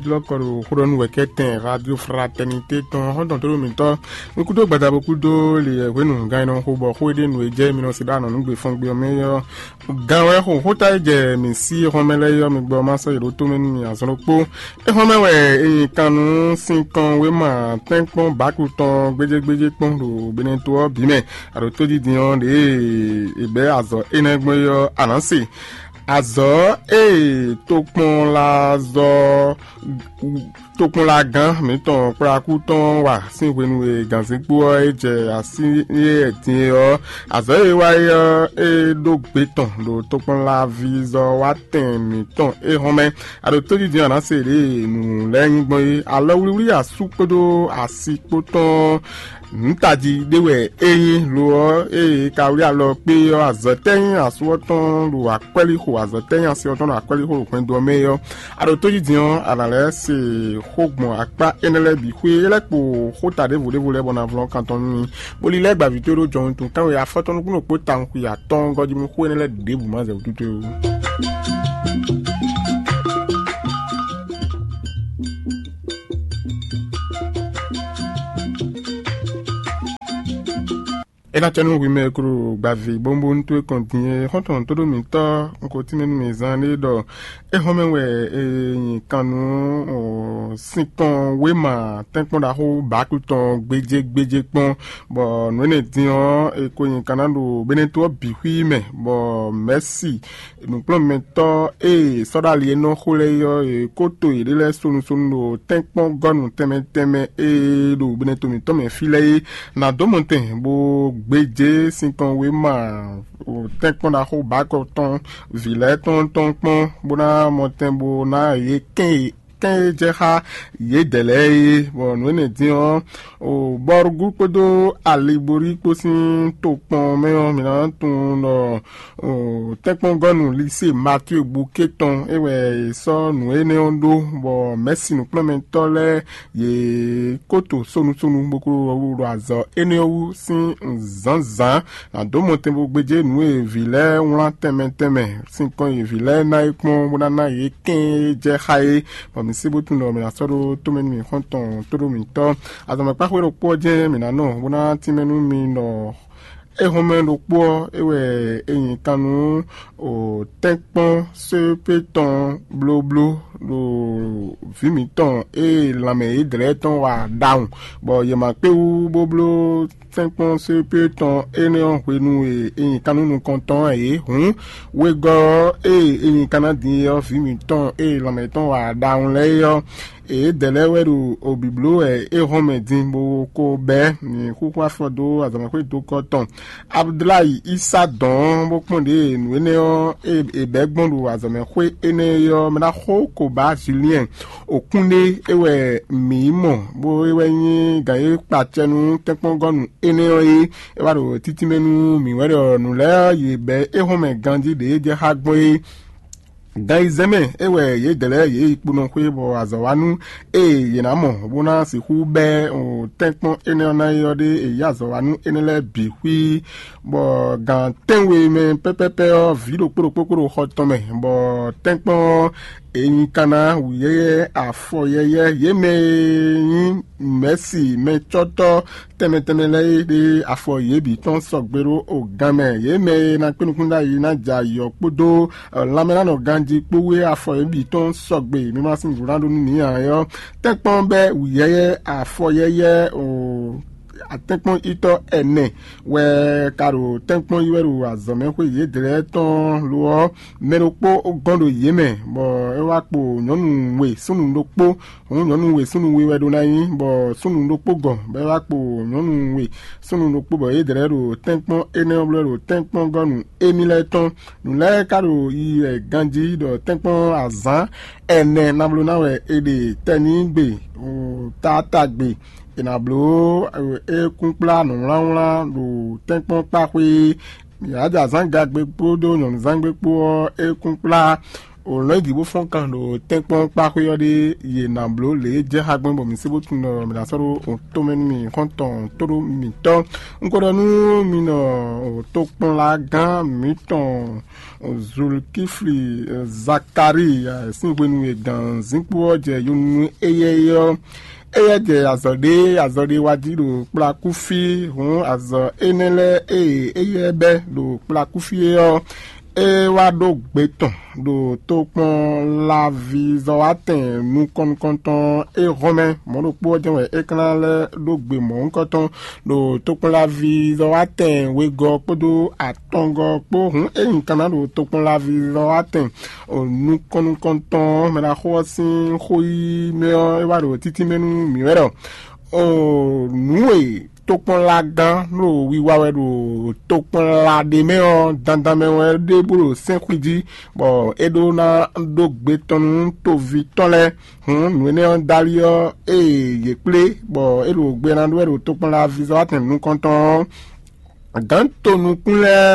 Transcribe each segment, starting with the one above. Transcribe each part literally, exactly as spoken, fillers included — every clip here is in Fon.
Jlɔ́kɔ ɖo xó ɖɔ nú wɛ̌kɛ́tɛn Radio Fraternité tɔn xɔ́ntɔn tóɖó mǐtɔn. Nukúndó gbadabo kúdó li hwenu gán e nɔ xo bɔ xó e ɖe nǔ e jɛ mi nɔ se ɖó anɔ̌ nú gbe fɔ́n gbe ɔ́ mɛ ɔ́, gán wɛ xo xóta e jɛ mǐ sí xɔ́mɛ lɛ́ɛ ɔ́, mi gbɔ ma sɔ́ yě ɖó tomɛ nú mi azɔn ɖokpó. É xɔ́mɛ wɛ è nyi kan nú sinkɔn wéma tɛ́nkpɔ́n bǎku tɔn gbéjégbéjé kpɔ́n ɖo Beneto ɔ́ bǐ mɛ. Aɖǒ tódídin ɔ́, ɖěe è bɛ̌ azɔ̌ énɛ́ gbɔn é ɔ́, a nǎ se. Azɔ̌ e tokpɔnlazɔ tokpɔnlagán mǐtɔn kplɔ́ akú tɔn wa sín hwenu e gǎnzínkpo ɔ́ é jɛ así é din é ɔ́, azɔ̌ e é wa é ɔ́, é ɖó gbe tɔn ɖo tokpɔnlavizɔ́watɛn mǐtɔn é hɔn mɛ. A ɖo tójijɛ a nǎ se ɖěe nǔ lɛ́ɛ nyí gbɔn é. Alɔwlíwlí asú kpódó asi kpó tɔn nǔ tají ɖé wɛ é nyí. Lo ɔ́, ée ka wlí alɔ kpé ɔ́, azɔ̌ tɛ́ nyí asú ɔ́ tɔn ɖo akwɛ́líxo, azɔ̌ tɛ́ nyí asi ɔ́ tɔn ɖo akwɛ́líxo ɖo hwɛndo ɔ́ mɛ é ɔ́, a ɖo tójijɛ ɔ́, a nǎ lɛ́ se xó gbɔn akpá énɛ́ lɛ́ɛ bǐ xwé. É lɛ́ kpo xóta ɖěvo ɖěvo lɛ́ɛ bɔ ná vlɔ́n kan tɔn nú mi, bó lílɛ́ gbǎví towe ɖó jɔhɔn tun kánwe afɔtɔn nukúnnú kpó tawun xwi atɔ́ɔ́ngɔ́ jí nú xó énɛ́ lɛ́ɛ ɖěbǔ ma zɛ wútu towe ó. É ná cɛ nú hwi mɛ e klo gbaví bónbónú towe kɔn din é, xɔ́ntɔn tóɖó mǐtɔn, un ko tínmɛ nú mì zán ɖé ɖɔ é hɔn mɛ wɛ è nyi kan nú sinkɔn wéma tɛ́nkpɔ́n ɖaxó bǎku tɔn gbéjé gbéjé kpɔ́n, bɔ nǔ énɛ́ din ɔ́, è ko nyi kan ná ɖo Beneto ɔ́ bǐ xwí mɛ, bɔ mɛ̌si nǔkplɔ́nmɛtɔ́ e è sɔ́ ɖó ali e nɔ xo lɛ́ɛ é ɔ́, è ko to yěɖée lɛ́ɛ sonu sonu ɖo tɛ́nkpɔ́n gɔ́nu tɛnmɛ tɛnmɛ e ɖo Beneto mǐtɔn mɛ fí lɛ́ɛ é. Nǎ dó mɔtɛn bó gbéjé sinkɔn wéma tɛ́nkpɔ́n ɖaxó bǎkɔ tɔn vǐ lɛ́ɛ tɔn tɔn kpɔ́n, bó ná mɔtɛn bó ná yě kɛn e kɛn e jɛ xá yědɛɛ lɛ́ɛ é. Bɔ nǔ énɛ́ din ɔ́, bɔrugú kpódó aliborí kpó sín tokpɔn mɛ ɔ́, mǐ ná tunwun ɖɔ tɛ́nkpɔ́ngɔ́nu Lisée Matíe Buké tɔn é wɛ è sɔ́ nǔ énɛ́ ɔ́ ɖó, bɔ mɛ̌si nǔkplɔ́nmɛtɔ́ lɛ́ɛ yě kó to sonu sonu bó kó ɖo azɔ̌ énɛ́ ɔ́ wú sín zǎnzǎn. Nǎ dó mɔtɛn bó gbéjé nǔ e vǐ lɛ́ɛ wlán tɛnmɛ tɛnmɛ, sinkɔn e vǐ lɛ́ɛ ná é kpɔ́n bó ná ná yě kɛ́n e jɛ xá é, bɔ mǐ sí bó tunwun ɖɔ mǐ ná sɔ́ ɖó tomɛ nú mǐ xɔ́ntɔn tóɖó mǐtɔn. Azɔ̌mɛkpáxwé ɖokpó ɔ́ jɛ́n mǐ ná nɔ bó ná tínmɛ nú mi ɖɔ éhɔnmɛ ɖokpó ɔ́, é wɛ è nyi kan nú tɛ́nkpɔ́n sépé tɔn blóbló ɖo vǐ mǐtɔn e lanmɛ yědɛɛ tɔn wa ɖawun, bɔ yě ma kpé wú bó bló tɛ́nkpɔ́n sépé tɔn énɛ́ ɔ́ hwenu e è nyi kan nú nukɔntɔn ɔ́ ǎ é. Hǔn wegɔ́ ɔ́, ée è nyi kan ná din é ɔ́, vǐ mǐtɔn e lanmɛ tɔn wa ɖawun lɛ́ɛ é ɔ́, yědɛɛ lɛ́ɛ wɛ ɖo obǐbló wɛ é hɔn mɛ din bó ko bɛ́ nyǐxúxú afɔ dó azɔ̌mɛxwé dókɔ́ tɔn. Abudulayi Isa dɔn ɔ́ bó kpɔ́n ɖě nǔ énɛ́ ɔ́ e è bɛ̌ gbɔn ɖo azɔ̌mɛxwé énɛ́ é ɔ́ mɛ ná xó ko ba Juliɛn Okúnɖé é wɛ mǐ yi mɔ, bó é wɛ nyí gǎn e kpa acɛ nú tɛ́nkpɔ́ngɔ́nu énɛ́ ɔ́ é. É wá ɖo títí mɛ nú mǐ wɛ ɖɔ nǔ lɛ́ɛ yě bɛ́ é hɔn mɛ ganjí ɖě jɛ xá gbɔn é. Gan yi zɛ́n mɛ é wɛ yědɛɛ lɛ́ɛ yě yi kponɔ xwé bɔ azɔ̌ wa nú ée yě ná mɔ bó ná sixú bɛ́ tɛ́nkpɔ́n énɛ́ ɔ́ ná é ɔ́ ɖé è yí azɔ̌ wa nú énɛ́ lɛ́ɛ bǐ xwí, bɔ gan tɛ́nwe mɛ pɛ́pɛ́pɛ́ ɔ́, vǐ ɖokpó ɖokpó kó ɖo xɔ tɔn mɛ, bɔ tɛ́nkpɔ́n ɔ́, è nyi kan ná wǔyɛ́yɛ́, afɔ yɛ́yɛ́, yě mɛ e nyí mɛ̌si mɛcɔ́tɔ́ tɛnmɛ tɛnmɛ lɛ́ɛ é ɖe afɔ yě bǐ tɔn sɔgbe ɖó o gan mɛ. Yě mɛ e ná kpé nukún ɖ'ayǐ ná jɛ ayǐ ɔ́ kpódó lanmɛnánɔ ganjí kpó wú é afɔ yě bǐ tɔn sɔgbe. Mi ma sín nǔɖuɖu ná ɖó nú nǐ ǎ é ɔ́, tɛ́nkpɔ́n bɛ́ wǔyɛ́yɛ́, afɔ yɛ́yɛ́ o atɛ́nkpɔ́nyitɔ́ ɛnɛ wɛ ka ɖo tɛ́nkpɔ́n yi wɛ ɖo azɔ̌mɛxwé yědɛɛ tɔn lo ɔ́, mɛ ɖokpó gɔ́n ɖo yě mɛ, bɔ é wá kpo nyɔ̌nu we súnnu ɖokpó. Hǔn nyɔ̌nu we súnnu we wɛ ɖó ná nyí, bɔ súnnu ɖokpó gɔn, bɔ é wá kpo nyɔ̌nu we súnnu ɖokpó, bɔ yědɛɛ ɖo tɛ́nkpɔ́n énɛ́ ɔ́ bló ɖo tɛ́nkpɔ́ngɔ́nu émí lɛ́ɛ tɔn. Nǔ lɛ́ɛ ka ɖo yiyi wɛ ganjí ɖɔ tɛ́nkpɔ́n azǎn ɛnɛ ná bló ná wɛ è ɖe tɛnígbe, taatagbe, è nǎ bló ékúnkplá nǔwlánwlán ɖo tɛ́nkpɔ́n kpáxwé. Yǎjazán gagbe kpódó nyɔ̌nuzángbe kpó ɔ́, ékúnkplá O lɔ̌n yi dǐ bó fɔ́n kan ɖo tɛ́nkpɔ́n kpáxwé ɔ́ ɖé, yě ná bló lě e jɛ xá gbɔn bɔ mǐ sé bó tunwun ɖɔ mǐ ná sɔ́ ɖó tomɛ nú mì xɔ́ntɔn tó ɖó mǐtɔn. Un ko ɖɔ nú mi nɔ tokpɔnlagán mǐtɔn Zulkifli Zakalíi sín hwenu e gǎn zínkpo ɔ́ jɛ yonunu éyɛ́ é ɔ́, éyɛ́ jɛ azɔ̌ ɖé azɔ̌ ɖé wá jí ɖo kplakúfí. Hǔn azɔ̌ énɛ́ lɛ́ɛ e éyɛ́ bɛ́ ɖo kplakúfí é ɔ́, é wá ɖó gbe tɔn ɖo tokpɔnlavizɔ́watɛn nukɔn nukɔntɔn é hɔn mɛ. Mɔ̌ ɖokpó ɔ́ jɛ́n wɛ é ka ná lɛ́ ɖó gbe mɔ̌hunkɔtɔn ɖo tokpɔnlavizɔ́watɛn wegɔ́ kpódó atɔngɔ́ kpó. Hǔn é nyi kan ná ɖo tokpɔnlavizɔ́watɛn nukɔn nukɔntɔn ɔ́, mɛ ɖaxó ɔ́ sín xó yí mɛ ɔ́, é wá ɖo títí mɛ nú mǐ wɛ ɖɔ nǔ e tokpɔnlagán ɖo wiwa wɛ ɖo tokpɔnla ɖé mɛ ɔ́, dandan mɛ wɛ ɖe bó ɖo sɛ́n xwí jí, bɔ é ɖó ná ɖó gbe tɔn nú toví tɔn lɛ́ɛ. Hǔn nǔ énɛ́ ɔ́ dali ɔ́, ée yě kplé, bɔ é ɖo gbe ná ɖó wɛ ɖo tokpɔnla vizɔ́watɛn nukɔntɔn ɔ́, gǎn tonukún lɛ́ɛ,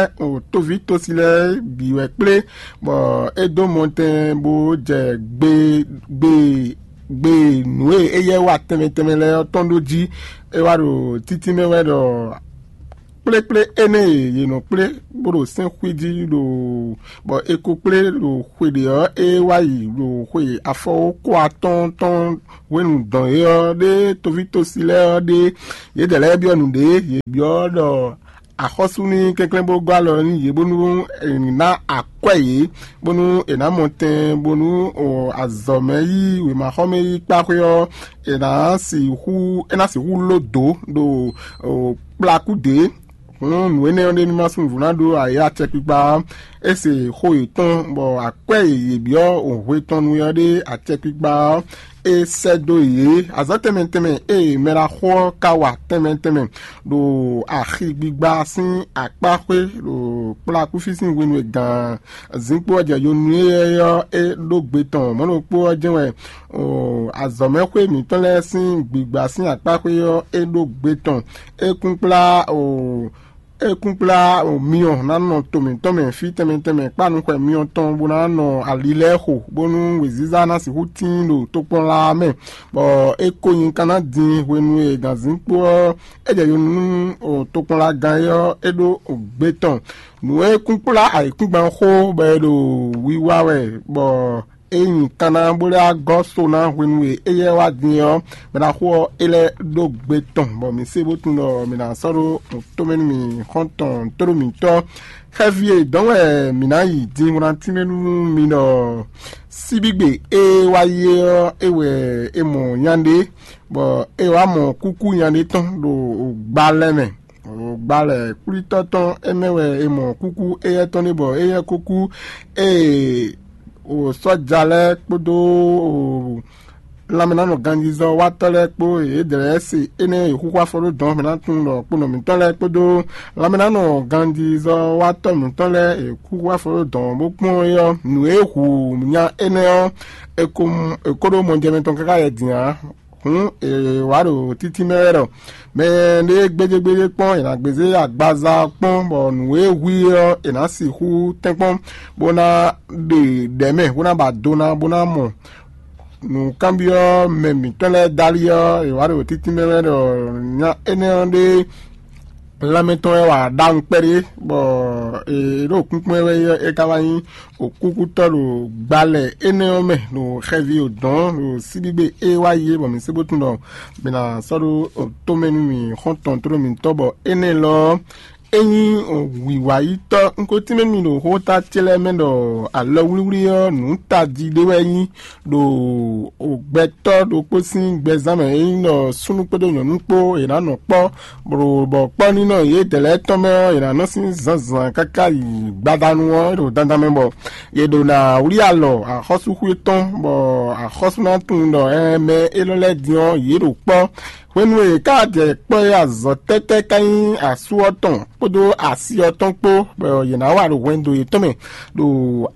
toví tosi lɛ́ɛ bǐ wɛ kplé, bɔ é dó mɔtɛn bó jɛ gbe gbe gbe nǔ e éyɛ́ wa tɛnmɛ tɛnmɛ lɛ́ɛ ɔ́ tɔn ɖó jí. É wá ɖo títí mɛ wɛ ɖɔ kplékplé énɛ́ e yě nɔ kplé bó ɖo sɛ́n xwí jí ɖo bɔ è ko kplé ɖo xwe ɖě ɔ́, é wá yi ɖo xwe afɔwókó atɔ́ɔ́n tɔn hwenu dɔn é ɔ́ ɖé. Toví tosi lɛ́ɛ ɔ́ ɖé, yědɛɛ lɛ́ɛ byɔ́ nǔɖé, yě byɔ́ ɖɔ axɔ́sú ní kɛnklɛ́n bó gɔ́ alɔ nú yě bónú è ná akwɛ́ yě, bónú è nǎ mɔ tɛn bónú azɔ̌ mɛ yí wěmaxɔmɛ yí kpáxwé ɔ́, è nǎ sixú é ná sixú ló dǒ ɖo kplakú dě. Hǔn nǔ énɛ́ ɔ́ ɖé ní ma sú nǔvú ná ɖó ayǐ acɛkpikpa ɔ́. É se xó yětɔn, bɔ akwɛ́ e yě byɔ́ hwe tɔn nu ɔ́ ɖé acɛkpikpa ɔ́, é sɛ́ dó yě. Azɔ̌ tɛnmɛ tɛnmɛ e mɛ ɖaxó ɔ́ ka wa tɛnmɛ tɛnmɛ ɖo axi gbigba sín akpá xwé ɖo kplakúfí sín hwenu e gǎn zínkpo ɔ́ jɛ yonu éyɛ́ ɔ́, é ɖó gbe tɔn mɔ̌ ɖokpó ɔ́ jɛ́n wɛ azɔ̌mɛxwé mǐtɔn lɛ́ɛ sín gbigba sín akpá xwé ɔ́, é ɖó gbe tɔn. É kún kplá o é kún kplá myɔ ná nɔ to mǐtɔn mɛ fí tɛnmɛ tɛnmɛ kpá nukɔn myɔ tɔn bó ná nɔ ali lɛ́ɛ xo, bónú wěziza ná sixú tíin ɖo tokpɔnla mɛ, bɔ é ko nyi ka ná din hwenu e gǎnzínkpo ɔ́ é jɛ yonu nú tokpɔnlagán é ɔ́, é ɖó gbe tɔn. Nǔ e kún kplá ayǐkúngban xó bɔ è ɖo wiwa wɛ, bɔ é nyi kanna bó lɛ́ wá gɔ́ so ná hwenu e éyɛ́ wá din ɔ́, mɛ ɖaxó ɔ́ é lɛ́ ɖó gbe tɔn, bɔ mǐ se bó tunwun ɖɔ mǐ ná sɔ́ ɖó tomɛ nú mì xɔ́ntɔn tóɖó mǐtɔn. Xɛví e dɔ̌n wɛ mǐ ná yi din wlantínmɛ nú mi ɖɔ síbígbe e wá yi é ɔ́, é wɛ é mɔ nya ɖé, bɔ é wá mɔ kúkú nya ɖé tɔn ɖo gba lɛ́ɛ mɛ. Gba lɛ̌ kwlítɔ́ tɔn é mɛ wɛ è mɔ kúkú éyɛ́ tɔn ɖé bɔ éyɛ́ ko kú. Ée sɔ́ja lɛ́ɛ kpódó lanmɛnánɔ ganjízɔ́watɔ́ lɛ́ɛ kpó yědɛɛ lɛ́ɛ se énɛ́ e xúxú afɔ ɖó dɔ̌n mɛ ná tunwun ɖɔ kponɔ mǐtɔn lɛ́ɛ kpódó lanmɛnánɔ ganjízɔ́watɔ́ mǐtɔn lɛ́ɛ e xúxú afɔ ɖó dɔ̌n bó kpɔ́n é ɔ́, nǔ e hu nya énɛ́ ɔ́, è ko mɔ è ko ɖó mɔjɛmɛ tɔn káká yɛ din ǎ. Hǔn è wǎ ɖo títí mɛ wɛ ɖɔ mɛ ɖé gbéjégbéjé kpɔ́n è nǎ gbezé agbaza ɔ́ kpɔ́n, bɔ nǔ e hu i ɔ́ è nǎ sixú tɛ́nkpɔ́n bó ná ɖe ɖɛ̌ mɛ bó ná ba do ná bó ná mɔ nǔkanbyɔ́ mɛ mǐtɔn lɛ́ɛ dali ɔ́, è wǎ ɖo títí mɛ wɛ ɖɔ nya énɛ́ ɔ́ ɖé lanmɛ tɔn wɛ wa ɖawun kpɛɖé, bɔ è ɖo kúnkún wɛ é ka wá nyí kúkútɔ́ ɖo gbalɛ énɛ́ ɔ́ mɛ ɖo xɛví o dɔ̌n ɖo síbígbe é wá yi é, bɔ mǐ sé bó tunwun ɖɔ mǐ ná sɔ́ ɖó tomɛ nú mì xɔ́ntɔn tlóló mǐtɔn, bɔ énɛ́ lɔ ɔ́, é nyí wǐwáyítɔ́. Un ko tínmɛ nú mi ɖo xóta ce lɛ́ɛ mɛ ɖɔ alɔwlíwlí ɔ́, nǔ tají ɖé wɛ é nyí ɖo gbɛtɔ́ ɖokpó sín gbɛzán mɛ e nyí ɖɔ súnnu kpódó nyɔ̌nu kpó è nǎ nɔ kpɔ́, bɔ kpɔ́ nínɔ yědɛɛ lɛ́ɛ tɔn mɛ ɔ́, è nǎ nɔ sín zǎnzǎn káká yi gbadanu ɔ́ ɖo dandan mɛ, bɔ yě ɖo ná wlí alɔ axɔ́súxwé tɔn, bɔ axɔ́sú ná tunwun ɖɔ ɛ mɛ élɔ́ lɛ́ɛ din ɔ́, yě ɖo kpɔ́. Hwenu e è ká jɛ kpɔ́ é azɔ̌ tɛ́tɛ́ ká nyí asú ɔ́ tɔn kpódó asi ɔ́ tɔn kpó, bɔ yě ná wa ɖo hwɛndo yětɔn mɛ ɖo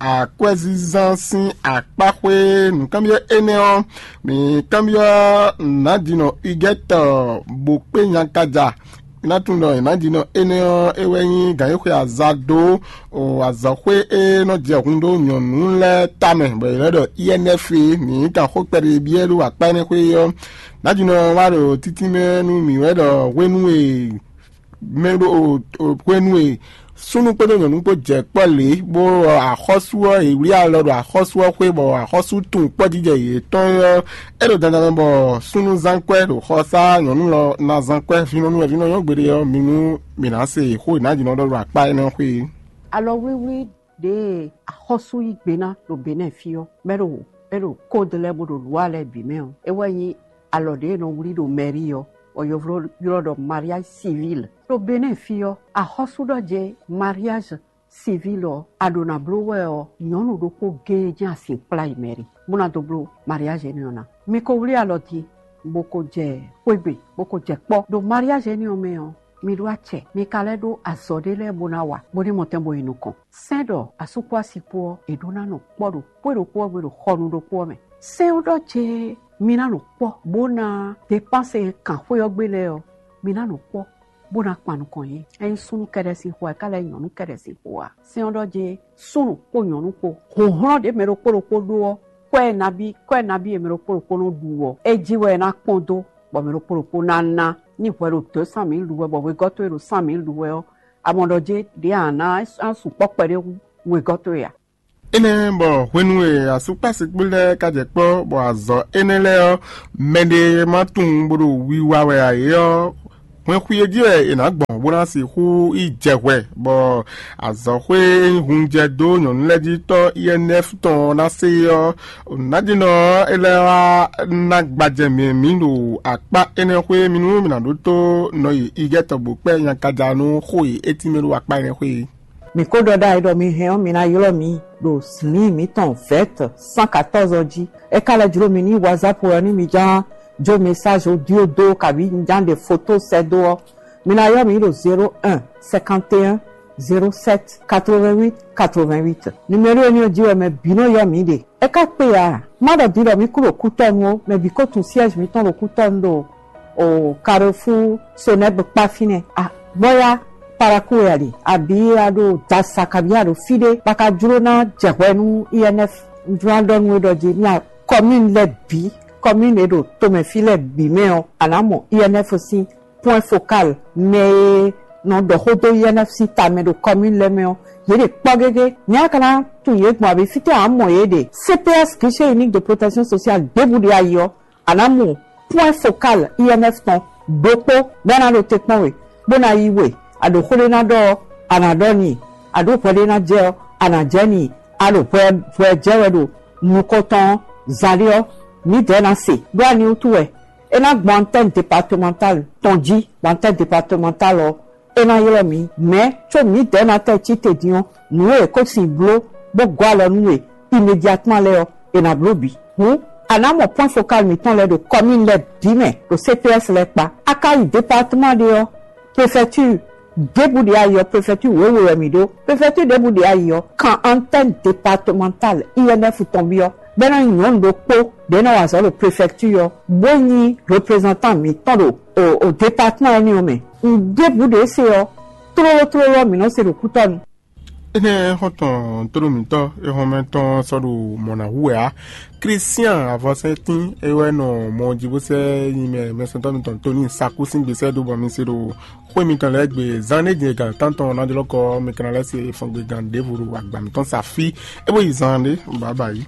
akwɛ́zínzán sín akpá xwé. Nǔkanbyɔ́ énɛ́ ɔ́, mǐ kanbyɔ́ nǎjinɔ Igɛ́tɔ bó kpé nyakaja Ná tunwun ɖɔ nǎjínɔ énɛ́ ɔ́, é wɛ nyí gǎn e xwe aza dó azɔ̌xwé e nɔ jɛ hun dó nyɔ̌nu lɛ́ɛ tamɛ, bɔ è nɔ ɖɔ I N F é. Mǐ kan xó kpɛɖé byɔ́ ɖo akpá énɛ́ xwé ɔ́. Nǎjínɔ wá ɖo títínmɛ nú mǐ wɛ ɖɔ hwenu e mɛ ɖo hwenu e súnnu kpódó nyɔ̌nu kpó jɛ kpɔ́ lě, bó axɔ́sú ɔ́, è wlí alɔ ɖo axɔ́sú ɔ́ xwé, bɔ axɔ́sú tunwun kpɔ́jijɛ yětɔn ɔ́, é ɖo dandan mɛ bɔ súnnu zán kwɛ́ ɖo xɔsá, nyɔ̌nu lɔ ná zán kwɛ́, vǐnɔnu wɛ vǐnɔ nyɔ́ gbeɖé ɔ́, mi nú mi ná se xó e nǎjínɔ ɖɔ ɖo akpá énɛ́ xwé é. Alɔwlíwlí ɖě e axɔ́sú yí gbe ná ɖo Benɛ́ɛ fí ɔ́, mɛ ɖo é ɖo kóde lɛ́ɛ bó ɖo lwǎ lɛ́ɛ bǐ mɛ ɔ́, é wɛ nyí alɔ ɖě e nɔ wlí ɖo mɛ̌rí ɔ́, bɔ yovló ylɔ́ ɖɔ mariage civil. Ɖo Benɛ́ɛ fí ɔ́, axɔ́sú ɖɔ jɛ mariage civil ɔ́, a ɖǒ ná bló wɛ ɔ́, nyɔ̌nu ɖokpó géé jɛ́n asin kplá yi mɛ̌rí, bó ná dó bló mariage énɛ́ ɔ́ ná. Mi ko wlí alɔ din, bó ko jɛ xwé gbe, bó ko jɛ kpɔ́. Ɖo mariage énɛ́ ɔ́ mɛ ɔ́, mi ɖó acɛ, mi ka lɛ́ ɖó azɔ̌ ɖé lɛ́ɛ bó ná wa, bó ní mɔ tɛn bó yi nukɔn. Sɛ́n ɖɔ asú kpó asi kpó ɔ́, è ɖó ná nɔ kpɔ́ ɖo xwé ɖokpó ɔ́ gbe ɖo xɔnu ɖokpó ɔ́ mɛ. Sɛ́n ɔ́ ɖɔ jɛ mi ná nɔ kpɔ́, bó ná depánse e kan xwé ɔ́ gbe lɛ́ɛ ɔ́, mi ná nɔ kpɔ́, bó ná kpan nukɔn yě. Ényí súnnu kɛ́ɖɛ́ sín xó ǎ, é ka lɛ́ nyɔ̌nu kɛ́ɖɛ́ sín xó ǎ. Sɛ́n ɔ́ ɖɔ jɛ súnnu kpó nyɔ̌nu kpó, hlɔ̌nhlɔ́n ɖě mɛ ɖokpó ɖokpó ɖó ɔ́, kwɛ́ nabí kwɛ́ nabí e mɛ ɖokpó ɖokpó nɔ ɖu ɔ́, é jí wɛ é ná kpɔ́n dó, bɔ mɛ ɖokpó ɖokpó ná ná. Ní hwɛ ɖo deux cent mille ɖu wɛ, bɔ wegɔ́ towe ɖo cent mille ɖu wɛ ɔ́, a mɔ ɖɔ jɛ ɖě a nǎ sukpɔ́ kpɛɖé hú wegɔ́ towe ǎ. Énɛ́ bɔ hwenu e asúkpásikpó lɛ́ɛ ka jɛ kpɔ́, bɔ azɔ̌ énɛ́ lɛ́ɛ ɔ́, mɛɖé ma tunwun bó ɖo wiwa wɛ ǎ é ɔ́, hwɛn xwi e jí wɛ è nǎ gbɔn bó ná sixú yi jɛ hwɛ, bɔ azɔ̌xwé e nyí hun jɛ dó nyɔ̌nu lɛ́ɛ jí tɔ́ I N F tɔn ɔ́ ná se é ɔ́, nǎjínɔ ɔ́, é lɛ́ wá ná gbajɛ mǐ mǐ ɖo akpá énɛ́ xwé mì nú mǐ ná ɖótó nɔ yi igɛ́ tɔgbo kpɛ́ nyankaja nú xó e é tínmɛ ɖó akpá énɛ́ xwé é. Mǐ ko ɖɔ ɖ'ayǐ ɖɔ mi hɛn ɔ́, mi ná ylɔ́ mǐ ɖo lǐin mǐtɔn vɛ̌t cent quatorze ɔ́ jí. É ka lɛ́ jló mi ní WhatsApp wɛ ɔ́, ní mi ján jó message audio dó kabǐ mi ján ɖe foto sɛ́ dó ɔ́, mi ná ylɔ́ mǐ ɖo zéro un cinquante et un zéro sept quatre-vingt-huit quatre-vingt-huit. Numéro énɛ́ ɔ́ jí wɛ mɛ bǐ nɔ ylɔ́ mǐ ɖe. É ka kpe ǎ, má ɖɔ din ɖɔ mǐ kú ɖo kútɔ́nu ó, mɛ bǐ ko tunwun siège mǐtɔn ɖo kútɔ́nu ɖo o Carrefour Soneb kpá fínɛ́. A bɔ́yá Parakou wɛ a ɖe, abǐ a ɖo Dasa kabǐ a ɖo fí ɖé, bá ka jló ná jɛ hwɛ nú I N F. Un jló ná ɖɔ nú we ɖɔ jí ní a commune lɛ́ɛ bǐ, commune e ɖo tomɛ fí lɛ́ɛ bǐ mɛ ɔ́, a nǎ mɔ I N F sín point focal mɛ e nɔ ɖɔ xó dó I N F sín ta mɛ ɖo commune lɛ́ɛ mɛ ɔ́, yě ɖe kpɔ́ gégé. Nɛ̌ a ka ná tunwun yě gbɔn abǐ fítɛ́ ǎ mɔ yě ɖe? C P S, Guichet Unique de Protection Sociale, ɖěbǔ ɖe ayi ɔ́, a nǎ mɔ point focal I N F tɔn ɖokpó bɔ é ná ɖo te kpɔ́n we, bó ná yí we, a ɖo xó ɖé ná ɖɔ ɔ́, a nǎ ɖɔ n'i, a ɖǒ hwɛ ɖé ná jɛ ɔ́, a nǎ jɛ n'i, a ɖo hwɛ hwɛ jɛ wɛ ɖo nukɔn tɔn ɔ́, zaɖé ɔ́, mǐdɛɛ ná se. Ɖó ani wútu wɛ? É ná gbɔn antenne départementale tɔn jí, bɔ antenne départementale ɔ́, é ná ylɔ́ mǐ. Mɛ̌ có mǐdɛɛ ná tɛ́ cí te din ɔ́, nǔ e è ko sin bló bó gɔ́ alɔ nú we immédiatement lɛ́ɛ ɔ́, è nǎ bló bǐ. Hǔn, a nǎ mɔ point focal mǐtɔn lɛ́ɛ ɖo commune lɛ́ɛ bǐ mɛ ɖo C P S lɛ́ɛ kpá. A ka yi département ɖé ɔ́, préfecture ɖěbǔ ɖě ayi ɔ́, préfecture wěwe wɛ mǐ ɖó. Préfecture ɖěbǔ ɖě ayi ɔ́, kan antenne départementale I N F tɔn byɔ́, bɔ é nɔ nyí nyɔ̌nu ɖokpó ɖě nɔ wa azɔ̌ ɖo préfecture ɔ́, bó nyí représentant mǐtɔn ɖo o, o département énɛ́ ɔ́ mɛ. Nǔɖěbǔ ɖě se ɔ́, tlóló tlóló ɔ́, mǐ nɔ se ɖo kútɔ́nu. Énɛ́ xɔ́ntɔn tónú mǐtɔn e hɔnmɛ tɔn sɔ́ ɖo mɔ̌ ná hu wɛ ǎ. Klísián avɔsɛ́ntín é wɛ nɔ mɔ jí bó sɛ́ nyi mɛ mɛsɛntɔ́ mitɔn Tóni Sakú sín gbesɛ dó bɔ mi se ɖo xwé mitɔn lɛ́ɛ gbe zán ɖé jɛ gan tántɔn ná jlɔ́ kɔ mi ka ná lɛ́ se fɔngbe gan ɖěvo ɖo agba mǐtɔn sa fí é bó yi zán ɖé bǎbǎ yí.